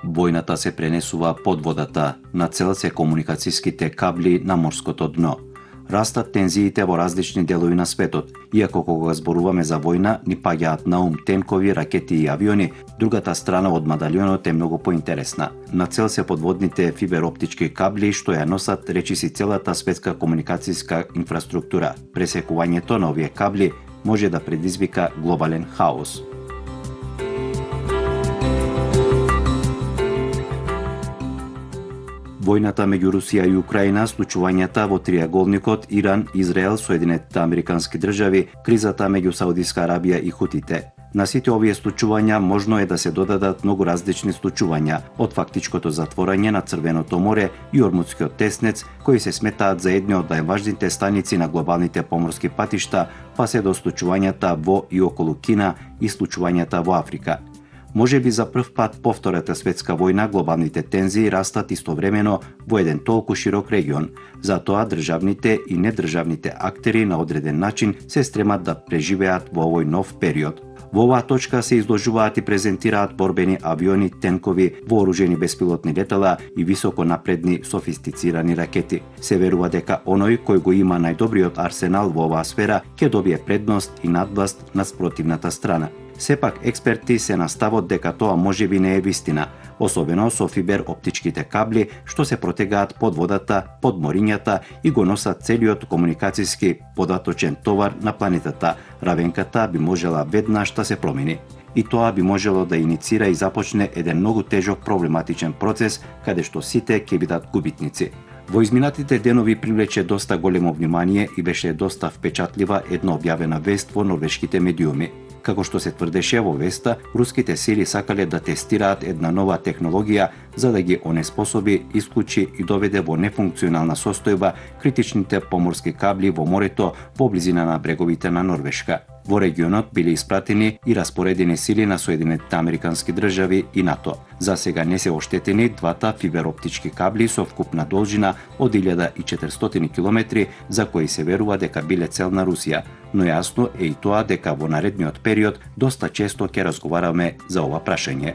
Војната се пренесува под водата, на цел се комуникацијските кабли на морското дно. Растат тензиите во различни делови на светот, иако кога зборуваме за војна, ни паѓаат на ум тенкови, ракети и авиони, другата страна од медалјонот е многу поинтересна. На цел се подводните фибероптички кабли што ја носат речиси целата светска комуникацијска инфраструктура. Пресекувањето на овие кабли може да предизвика глобален хаос. Војната меѓу Русија и Украина, случувањата во триаголникот Иран, Израел, Соединетите Американски држави, кризата меѓу Саудиска Арабија и Хутите. На сите овие случувања можно е да се додадат многу различни случувања, од фактичкото затворање на Црвеното море и Ормудскиот теснец, кои се сметаат за едни од најважните станици на глобалните поморски патишта, па се до случувањата во и околу Кина и случувањата во Африка. Може би за прв пат по Втората светска војна глобалните тензии растат истовремено во еден толку широк регион. Затоа државните и недржавните актери на одреден начин се стремат да преживеат во овој нов период. Во оваа точка се изложуваат и презентираат борбени авиони, тенкови, вооружени беспилотни летала и високо напредни софистицирани ракети. Се верува дека оној кој го има најдобриот арсенал во оваа сфера ќе добие предност и надвласт над спротивната страна. Сепак експерти се на ставот дека тоа можеби не е вистина, особено со фибероптичките кабли што се протегаат под водата, под морињата и го носат целиот комуникацијски податочен товар на планетата. Равенката би можела веднаш да се промени. И тоа би можело да иницира и започне еден многу тежок проблематичен процес, каде што сите ќе бидат губитници. Во изминатите денови привлече доста големо внимание и беше доста впечатлива една објавена вест во норвешките медиуми. Како што се тврдеше во веста, руските сили сакале да тестираат една нова технологија за да ги онеспособи, исклучи и доведе во нефункционална состојба критичните поморски кабли во морето во близина на бреговите на Норвешка. Во регионот биле испратени и распоредени сили на Соединетите Американски држави и НАТО. За сега не се оштетени двата фибероптички кабли со вкупна должина од 1400 километри, за кои се верува дека биле цел на Русија, но јасно е и тоа дека во наредниот период доста често ќе разговараме за ова прашање.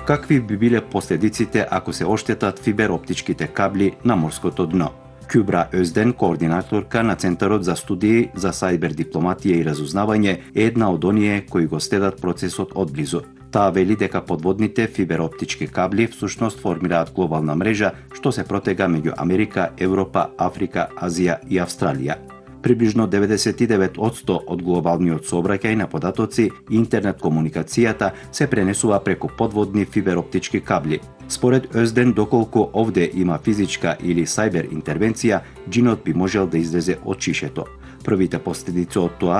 Какви би биле последиците ако се оштетат фибероптичките кабли на морското дно? Кюбра Озден, координаторка на Центарот за студии за сајбер дипломатија и разузнавање, е една од оние кои го следат процесот одблизу. Таа вели дека подводните фибероптички кабли всушност формираат глобална мрежа што се протега меѓу Америка, Европа, Африка, Азија и Австралија. Приближно 99% од глобалниот сообраќај на податоци и интернет комуникацијата се пренесува преку подводни фибероптички кабли. Според Озден, доколку овде има физичка или сајбер интервенција, џинот би можел да излезе од чишето. Првите последици од тоа